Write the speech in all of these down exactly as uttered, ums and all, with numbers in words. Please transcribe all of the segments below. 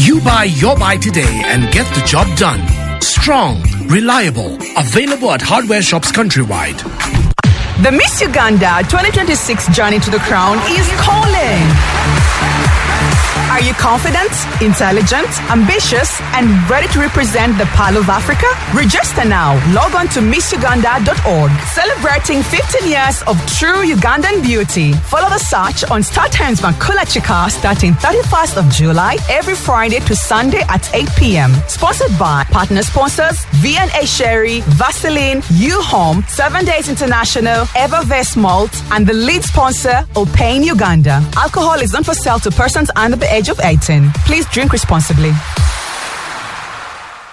You buy your buy today and get the job done. Strong, reliable, available at hardware shops countrywide. The Miss Uganda twenty twenty-six Journey to the Crown is calling. Are you confident, intelligent, ambitious, and ready to represent the Pearl of Africa? Register now. Log on to miss uganda dot org. Celebrating fifteen years of true Ugandan beauty. Follow the search on StarTimes Makula Chika starting thirty-first of July every Friday to Sunday at eight p m. Sponsored by partner sponsors V and A Sherry, Vaseline, U-Home, Seven Days International, Evervest Malt, and the lead sponsor, Opane Uganda. Alcohol is not for sale to persons under the age of eighteen. Please drink responsibly.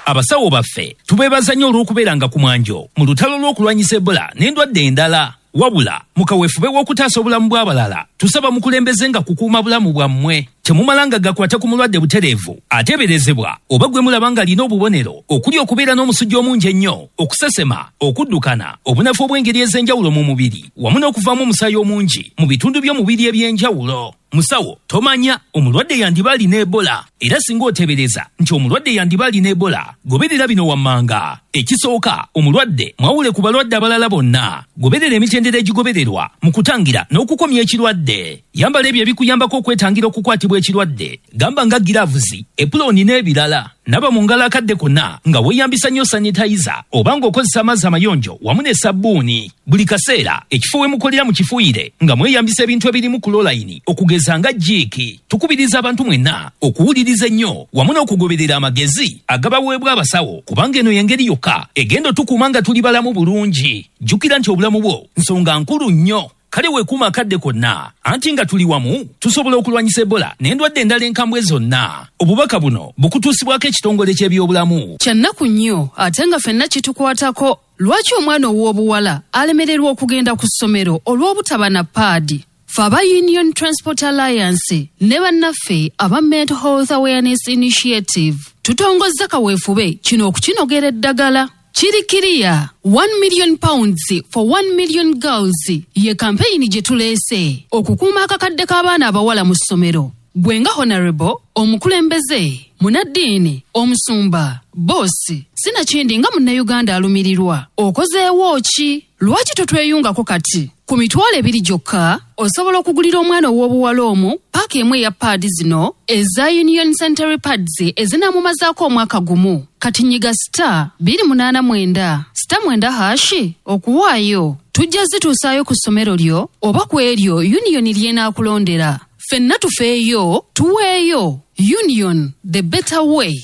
Abasawo baffe tubeebaza nnyo olw'okubeeranga ku mwanjo mu lutalo lw'okulwanyisa Ebola n'endwadde endala. Wabula mu kaweefube w'okutaasa obulamu bw'abalala, tusaba mukulembeze nga kukuuma bulamu bwammwe. Temumalanga gakwata ku mulwadde butereevu ateeberezebwa oba gwe mulaba ng'alina obubonero okuli okubeera n'omusujja omungi ennyo, okusesema, okuddukana, obunafu obw'engeri ez'enjawulo mu mubiri wamu n'okuvaamu omusaayi omungi mu bitundu by'omubiri eby'enjawulo. Musawo, tomanya omulwadde yandiba alina Ebola. Era singa oteebereza nti omulwadde yandiba alina Ebola, goberera bino wammanga. Ekisooka, omulwadde mwawule ku balwadde abalala bonna. Goberera emitendera egigobererwa mu kutangira n'okukomya ekirwadde. Yambala ebyo ebikuyambako okwetangira okukwatibwa ekirwadde, gamba nga giraavuzi, epulooni n'ebirala. Naba mu ngalo akadde konna nga weeyambisa nnyo sanitayiza oba ng'okozesa amazzi amayonjo wamu ne sabbuuni. Buli kaseera ekifo we mukolera mukifuuyire nga mweyambisa ebintu ebirimu chlorine, okugeza nga Jik. Tukubiriza abantu mwenna okuwuliriza ennyo wamu n'okugoberera amagezi agabaweebwa abasawo, kubanga eno y'engeri yokka egenda otukuuma nga tuli balamu bulungi. Jjukira nti obulamu bwo nsonga nkulu nnyo, kale weekuuma akadde konna, anti nga tuli wamu tusobola okulwanyisa Ebola n'endwadde endala enkambwe zonna. Obubaka buno bukutuusibwako ekitongole ky'ebyobulamu. Kyannaku nnyo ate nga ffenna kitukwatako. Lwaki omwana ow'obuwala alemererwa okugenda ku ssomero olw'obutaba na paadi? Fe aba Union Transport Alliance ne bannaffe aba Mental Health Awareness Initiative tutongozza kaweefube kino okukinogera eddagala. Kiri kiriya, one million pounds for one million girls ye kampeyini gye tuleese okukuuma akakadde k'abaana abawala mu ssomero. Gwe nga honorable, omukulembeze, munaddiini, omusumba, boosi, sinakindi nga Munnayuganda alumirirwa, okozeewo ki? Lwaki totweyungako kati? Ku mitwalo ebiri gyokka osobola okugulira omwana ow'obuwala omu paaka emu eya paadi zino eza Union Sanitary Pads ezinaamumazaako omwaka gumu. Kati nyiga star bbiri munaana mwenda star mwenda hash okuwaayo. Tujja zituusaayo ku ssomero lyo oba ku eryo Union ly'enaakulondera. Ffenna tufeeyo, tuweeyo. Union, the better way.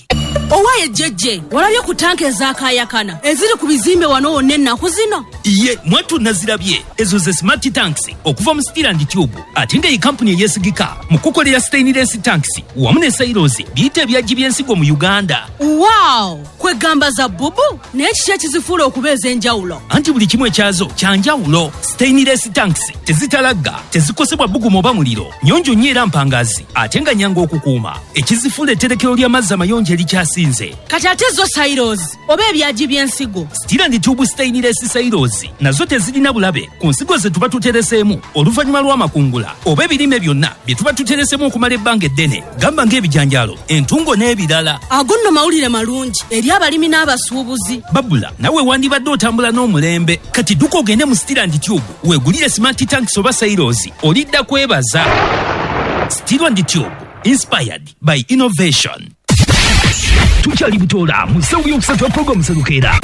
Owaaye jjejje, walabye ku tanka ezakayakana eziri ku bizimbe wano wonna ennaku zino? Ye mwattu, nazirabye. Ezo ze smart tanks okuva mu Steel and Tube, ate nga ye kampuni eyeesigika mu kukolera stainless tanks wamu ne silos, biyita ebyajji by'ensigo mu Uganda. Wow, kwegamba za bubu! Naye kiki ekizifuula okuba ez'enjawulo? Anti buli kimu ekyazo kyanjawulo. Stainless tanks tezitalagga, tezikosebwa bbugumu oba muliro, nyonjo nnyo era mpangazi, ate nga nyangu okukuuma, ekizifuula etterekero ly'amazzi amayonjo erikyasinze. Kati ate zo silos oba ebyagi by'ensigo? Steel and Tube stainless silos nazo tezirina bulabe ku nsigo ze tuba tutereseemu oluvannyuma lw'amakungula oba ebirime byonna bye tuba tuteresemu okumala ebbanga eddene, gamba ng'ebijanjaalo, entungo n'ebirala. Ago nno mawulire malungi eri abalimi n'abasuubuzi. Babula nawe wandibadde otambula n'omulembe. Kati dduka ogende mu Steel and Tube weegulire smart tanks oba silos, olidda kwebaza. Steel and Tube, inspired by innovation. Tukyali butoola mu ssaawa yokusatu ya puroguramu Serukeera.